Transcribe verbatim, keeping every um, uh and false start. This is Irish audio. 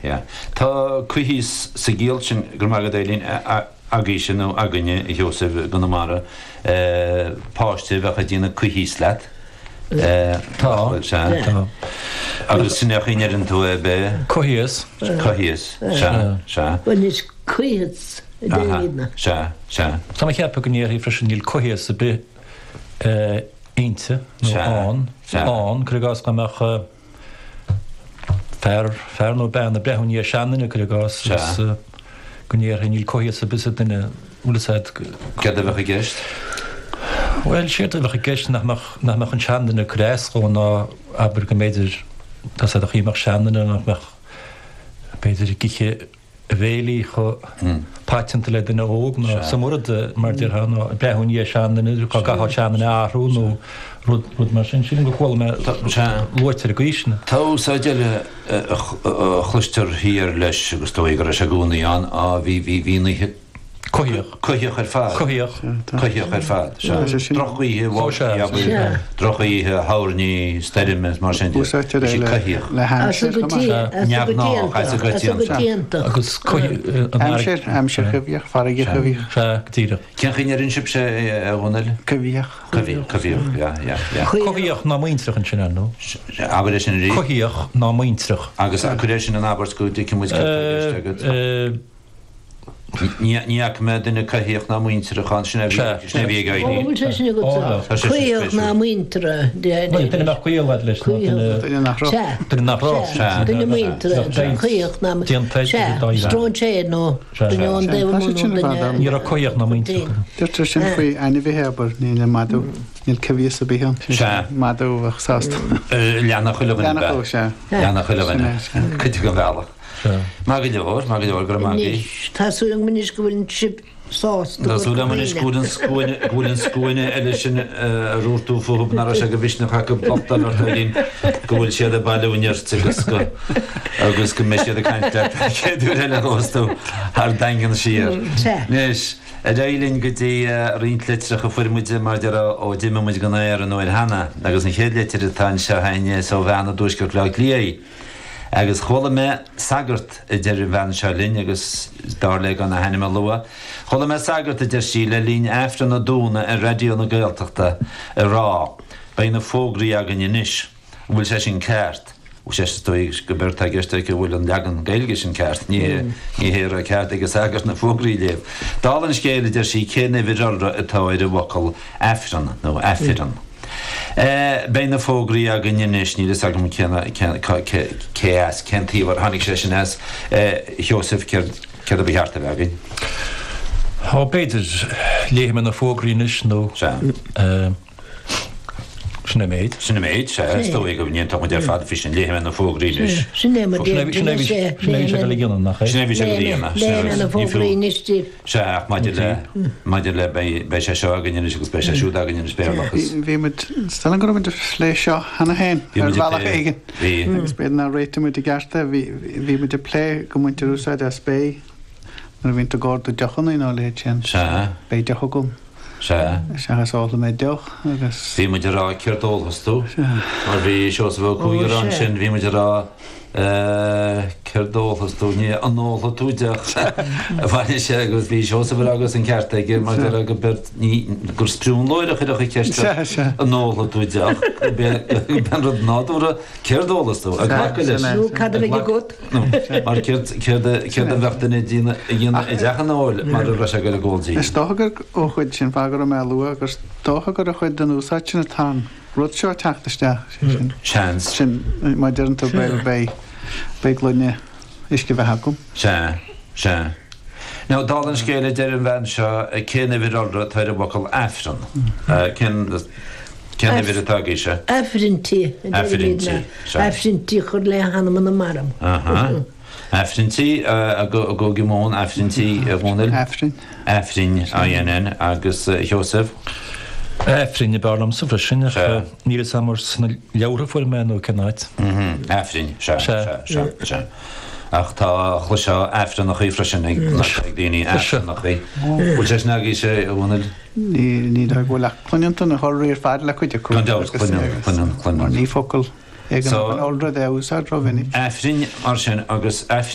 yeah. Tá coimhthíos sa gciall sin go maith Eileen agaibhse nó againne a Sheosaimh i gConamara páiste a bheadh ag déanamh coimhthíos leat. Tá. Tá. Agus sin é a ndeireann tú é be? Coimhthíos. Coimhthíos, sea, sea. Bhuel is coimhthíos a deirimidne. Sea, sea. Tá mé ag ceapadh go ndéarfaí freisin níl coimhthíos ar bith inti nó ann, ann, cuir i gcás go mbeadh fear, fear nó bean ag breathnú i ndiaidh seanduine, cuir i gcás, agus go ndéarfaí níl coimhthíos ar bith sa duine, bhfuil fhios a'd. Céard a bheadh i gceist? Bhuel, séard a bheadh i gceist nach mbeadh, nach mbeadh an seanduine ag cur as dhó ná abair go mb'fhéidir, tá fhios a'd an chaoi a mbeadh seanduine nach mbeadh, b'fhéidir ag ithe a bhéilí chomh paiteanta le duine óg nó sa murad mar déarfá nó ag breathnú i ndiaidh seanduine, dá gcaithfeá seanduine a athrú nó rud, rud mar sin. Sílim gur chuala mé luaite ar an gcaoi sin. Tá úsáid eile a chloistear thiar leis agus is dóigh go raibh sé i gcónaí ann, á bhí, bhí, bhí an oíche Coimhthíoch. Coimhthíoch ar fad. Coimhthíoch. Coimhthíoch ar fad. Sea. Drochoíche bháistí, abair. Drochoíche thoirní, stoirme is mar sin de. Úsáidtear é le le haimsir chomh maith. Neamhghnách, as a gcoitianta. Agus coimhthíoch. Aimsir, aimsir choimhthíoch, farraige choimhthíoch. Sea, go díreach. Cén chaoi a ndeireann sibhse é, a Dhónaill? Coimhthíoch. Coimhthíoch, coimhthíoch, yeah, yeah, yeah. Coimhthíoch ná muintreach ansin, ar ndóigh. Abair é sin arís. Coimhthíoch ná muintreach. Agus cuir é sin in abairt go dtuigfidh muid céard atá i gceist agat. Ní fhaca mé duine coimhthíoch ná muintreach ann, sin é a bhí ag éirí. Ó, bhfuil sé sin agatsa? Coimhthíoch ná muinteartha. Bhuel, duine a mbeadh gaol agat leis nó duine. Duine nach raibh. Sea. Duine nach raibh. Sea. Duine muinteartha, coimhthíoch ná. Sea, stróinséir nó duine ón dtaobh amuigh nó duine. Ní raibh coimhthíoch ná muintreach. Deirtear sin faoi ainmhithe, abair, níl an madadh, níl coimhthíos ar bith ann. Sea. Madadh a bheadh sásta. Leanfadh chuile dhuine. Leanfadh, sea. Leanfadh chuile dhuine. Cuid den bhealach. Maith go leor, maith go leor, go raibh maith agaibh. Anois, tá súil agam anois go bhfuil sibh sásta Tá súil agam anois go bhfuil an scuaine, go bhfuil an scuaine eile sin a dúirt tú fúthu nach raibh sé de mhisneach acu locht ort Eileen, go bhfuil siad ag bailiú nirt agus go, agus go mbeidh siad ag caint leat an chéad uair eile a ghabhfas tú thar Daingean siar. Sea. Anois, ar aghaidh linn go dtí roinnt litreacha a fuair muid mar a déarfá ó d'imigh muid den aer an uair cheana agus an chéad litir atá anseo againne is ó bhean i dtuaisceart Bhaile Átha Cliath í. Agus chuala mé sagart, a deir an bhean seo linn, agus b'fhearr léi gan a hainm a lua, chuala mé sagart, a deir sí, le linn Aifreann an Domhnaigh ar Raidió na Gaeltachta ag rá, 'Beidh na fógraí againn anois. An bhfuil sé sin ceart? Bhuel, sé, is dóigh go b'éard atá i gceist aici an bhfuil an leagan Gaeilge sin ceart. Ní hé, ní hé a raibh cead ag an sagart na fógraí a léamh. Dála an scéil, a deir sí, cén uimhir iolra atá ar an bhfocal Aifreann, nó Aifirinn? Beidh na fógraí againn anois, níl fhios agam cén, cén, cé as, cén taobh ar tháinig sé sin as. Sheosaimh, céard, céard a ba cheart a bheith againn? Ó, b'fhéidir, léifidh mé na fógraí anois nó. Sea. Sin é an méid. Sin an méid, sea, is dóigh go n-aontódh muid ar fad faoi sin, léifidh mé na fógraí anois. Sin é mar Sin é, sin é, sin é a bhí sé ag dul a dhéanamh, nach é? Sin é a bhí sé ag dul a dhéanamh. Léifidh mé na fógraí anois díbh. Sea, ach maidir le, maidir le, beidh, beidh sé seo againn anois agus beidh sé siúd againn anois, Béarlachas. Bhí muid, is dóigh liom go raibh muid ag plé seo cheana féin, Bhí ar muid ag bhealach plé, éigin. bhí. Agus b'fhéidir nár réitigh muid i gceart é, bhí, bhí muid ag plé go mbaintear úsáid as beidh nuair a bhíonn tú ag ordú deochanna nó a leithéid sin. Sea. Beidh deoch agam. Sea. Seachas ólfaidh mé deoch agus. Bhí muid ag rá céard ólfas tú? Sea. Mar bhí Seosamh Ó Cuaig ag rá ansin, bhí muid ag rá eh céard ólfas tú, ní an ólfaidh tú deoch a bhain sé agus bhí Seosamh ag rá agus an ceart aige mar deir go beirt ní gur sprionlóir a chuirfeadh an cheist Sea, sea. an ólfaidh tú deoch, gurb é gurb é an rud nádúrtha céard ólfas tú, ag glacadh leis. Nó cad a bheidh agat? Nó mar céard céard a céard a bheadh duine ag déanamh ag déanamh i dteach an óil mar a raibh sé ag dul ag ól dí. Is dócha gur ó chuid sin fáth go raibh mé á lua gur dócha gur ó chuid den úsáid sin atá an rud seo ag teacht isteach, sé sin. Seans. Sin má deireann tú beidh beidh beidh gloine uisce bheatha agam. Sea, sea. Now, dála an scéil a deir an bhean seo, cén uimhir iolra atá ar an bhfocal Aifreann? Cén, cén uimhir atá agaibhse? Aifrinntí, a deirimid, Aifrinntí, sea. Aifrinntí a chur le hanama na marbh. Aha. Aifrinntí, i gCúige Mumhan, Aifrinntí, a Dhónaill? Aifrinn. Aifrinn, I N N, agus a Sheosaimh? Aifrinn ab fhearr liomsa freisin, ach Sea. níl fhios agam ar sna leabhartha a fuair mé nó cén áit. Mhm, Aifrinn, sea, Sea. sea, sea, sea. Ach tá chloisfeá Aifreannachaí freisin ag ag daoine, Aifreannachaí. Bhfuil sé sin agaibhse, a Dhónaill? Ní ní dóigh go bhfuil ach cluineann tú na hiolraí ar fad le cuid acu. Gan dabht, agus- cluineann, agus- cluineann, cluineann. Mar ní focal é So- an iolra é a úsáid rómhinic. Aifrinn mar sin agus Aifrinn